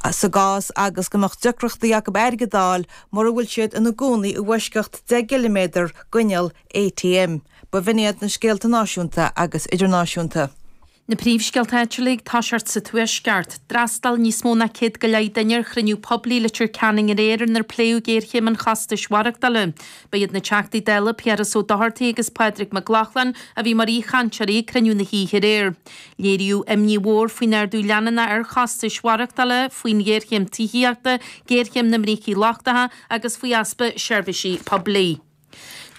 Sa gcás agus go mbeadh deacrachtaí acu airgead a fháil mura bhfuil siad ina gcónaí i bhfoisceacht 10 gciliméadar d'inneall ATM. B'in iad na scéalta náisiúnta agus idirnáisiúnta. Na príomhscéalta áitiúla ag toiseacht sa Tuaisceart. D'fhreastail níos mó ná 100 go leith duine ar chruinniú poiblí i Leitir Ceanainn aréir inar pléadh géarchéim an chostais mhaireachtála. Ba iad na Teachtaí Dála Piaras Ó Dochartaigh agus Pádraig Mac Lochlainn a bhí mar aoichainteoirí ag cruinniú na hoíche aréir. Léiríodh imní mhór faoin ardú leanúnach ar chostais mhaireachtála, faoin ghéarchéim tithíochta, géarchéim na mbrící lochtacha agus faoi easpa seirbhísí poiblí.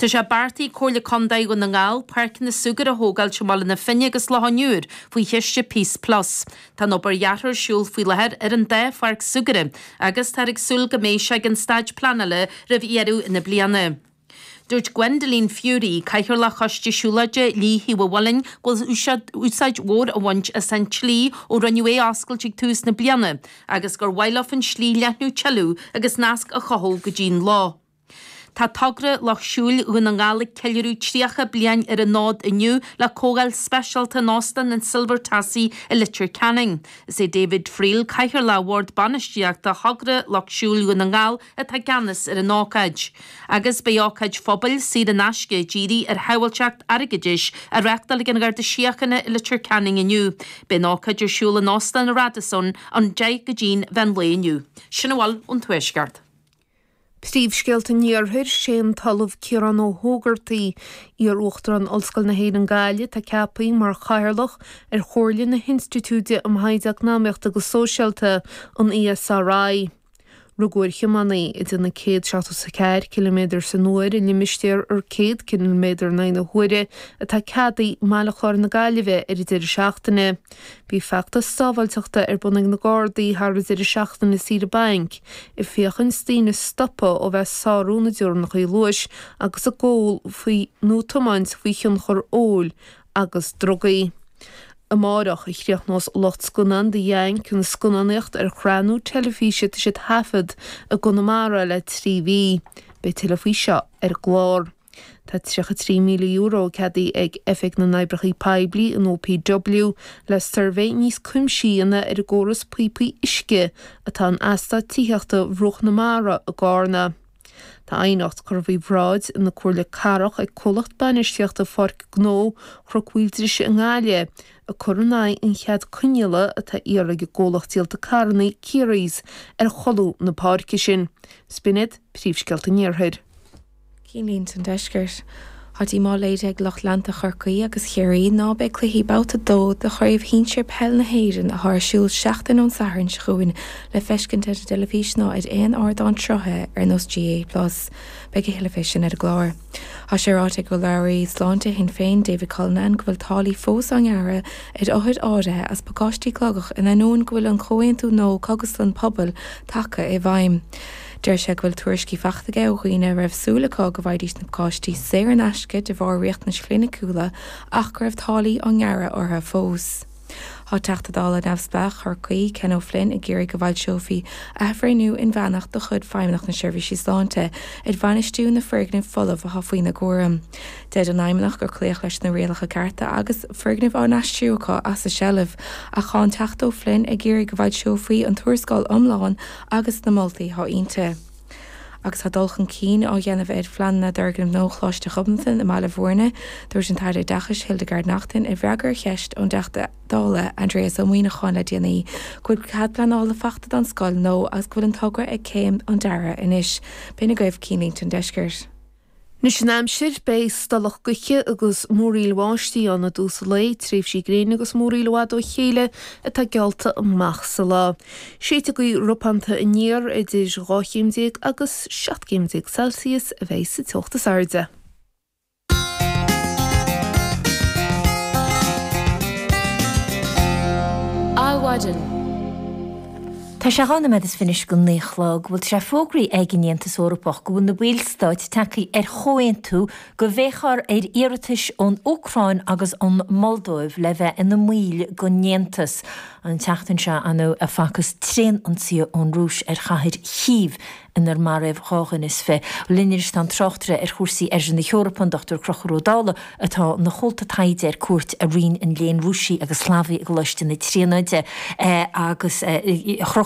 Tá sé beartaithe ag Comhairle Contae Dhún na nGall páirceanna súgartha a thógáilt i mBaile na Finne agus Loch an Iúir faoi chiste Peace Plus. Tá an obair dheartha ar siúl faoi láthair ar an dá pháirc súgartha agus táthar ag súil go mbeidh sé ag an staid pleanála roimh dheireadh na bliana. Dúirt Gwendoline Furey, Cathaoirleach Choiste Siúlóide Shlí Thaobh an Mhuilinn, go bhfuil úsáid mhór á bhaint as an tslí ó rinneadh é a oscailt ag tús na bliana agus gur mhaith leo an tslí a leathnú tuilleadh agus nasc a chothú go dtí'n loch. Tá Togra Lucht Siúil Dhún na nGall ag ceiliúradh 30 bliain ar an fhód inniu le comhdháil speisialta in Óstán an Silver Tassie i Leitir Ceanainn. Is é David Friel, Cathaoirleach Bhord Bainistíochta Thogra Lucht Siúil Dhún na nGall atá i gceannas ar an ócáid. Agus beidh ócáid phobail saor in aisce dírithe ar shábháilteacht airgeadais á reáchtáil ag an Gharda Síochána i Leitir Ceanainn inniu. Beidh an ócáid ar siúl in Óstán an Radisson ón 10 go dtí'n mheán lae inniu. Sin a bhfuil ón Tuaisceart. Príomhscéalta an Iarthair, Sé an tOllamh Ciarán Ó hÓgartaigh, iar-Uachtarán Ollscoil na hÉireann Gaillimh, atá ceaptha mar Chathaoirleach ar Chomhairle na hInstitiúide um Thaighde Eacnamaíochta agus Sóisialta, an ESRI. Rugadh ar thiománaí ag déanamh 174 ciliméadar san uair i limistéar ar 100 ciliméadar in aghaidh na huaire atá ceadaithe i mBaile Chláir na Gaillimhe ar an deireadh seachtaine. Bhí feachtas sábháilteachta ar bun ag na Gardaí thar an deireadh seachtaine saoire bainc, ag féachaint daoine a stopadh ó bheith ag sárú na dteorainneacha luais agus ag ól faoi nó tiomáint faoi thionchar óil agus drugaí. Amárach a chríochnós lucht scannán The Yank an scannánaíocht ar shraith nua teilifíse atá siad a thaifead i gConamara le 3 mhí. Beidh tuilleadh faoi seo ar an gclár. Tá €33,000 ceadaithe ag Oifig na nOibreacha Poiblí, an OPW, le suirbhé níos cuimsithí a dhéanamh ar an gcóras píopaí uisce atá in eastát tithíochta Bhruach na Mara i gCarna. Tá aighneacht curtha faoi bhráid na Comhairle Cathrach ag comhlacht bainistíochta Pháirc Gnó Chnoc Mhaoildrise i nGaillimh ag cur in aghaidh an chead coinníollaigh atá á iarraidh ag an gcomhlacht díolta carranna Currys ar cholún na páirce sin. B'in iad príomhscéalta an Iarthair. Cinnlínte an Deiscirt. Tá díomá léirithe ag lucht leanta Chorcaí agus Chiarraí ná beidh cluichí Babhta 2 de Chraobh Shinsir Peil na hÉireann atá ar siúl seachtain ón Satharn seo chugainn le feiscint ar an dteilifís ná ar aon ardán sruthaithe ar nós GAA Plus. Beidh a thuilleadh fé sin ar an gclár. Tá sé ráite ag urlabhraí sláinte Shinn Féin, David Cullinane, go bhfuil táillí fós á ngearradh ar othair áirithe as pacáistí cogaidh in ainneoin go bhfuil an comhaontú nua cógaslann pobail tagtha i bhfeidhm. Deir sé go bhfuil tuairiscí faighte aige ó dhaoine a raibh súil acu go bhfaighidís na pacáistí saor in aisce de bharr riachtanais chliniciúla ach go raibh táillí á ngearradh orthu fós. Tá Teachta Dála neamhspleách Chorcaí, Ken O'Flynn ag iarraidh go bhfoilseofaí athbhreithniú inmheánach de chuid Feidhmeannacht na Seirbhísí Sláinte ar bhainistiú na foirgnimh folamh atá faoina gcúram. Deir an Fheidhmeannacht gur cloíodh leis na rialacha cearta agus foirgnimh á n-aistriú acu as a seilbh ach tá an Teachta O'Flynn ag iarraidh go bhfoilseofaí an tuarascáil iomlán agus na moltaí atá inti. Agus tá dul chun cinn á dhéanamh ar phleananna d'fhoirgneamh nua Choláiste Ghobnatan i mBaile Bhúirne, dúirt an tAire Oideachais Hildegarde Naughton i bhfreagra ar cheist ón dTeachta Dála Aindrias Ó Muimhneacháin le déanaí go bhfuil cead pleanála faighte don scoil nua agus go bhfuil an togra ag céim an deartha anois. B'in agaibh Cinnlínte an Deiscirt. Anois an aimsir, beidh stolladh gaoithe agus múraíl bháistí ann i dtús an lae, tréimhsí gréine agus múraíl i bhfad ó chéile atá geallta amach sa lá. Séidfidh gaoth ropánta aniar idir 12 chéim agus 17 céim Celsius a bheidh sa teocht is airde. Adhmhaidin. Tá sé 2 nóiméad is fiche anois go 9 a chlog. Bhuel tá sé fógraithe ag an Aontas Eorpach go bhfuil na ballstáit tagtha ar chomhaontú go bhféachfar ar iarratais ón Úcráin agus ón Moldóiv le bheith ina mbaill den Aontas. An tseachtain seo, ar ndóigh, a facthas tréan-ionsaí ón Rúis ar chathair Chív inar maraíodh 22. Linn anois tá an tráchtaire ar chúrsaí Oirthear na hEorpa, an Dr Conchúr Ó Dálaigh, atá ina chomhalta taighde ar cuairt i Roinn an Léinn Rúisigh agus Shlavaigh i gColáiste na Tríonóide agus a Chonchúir.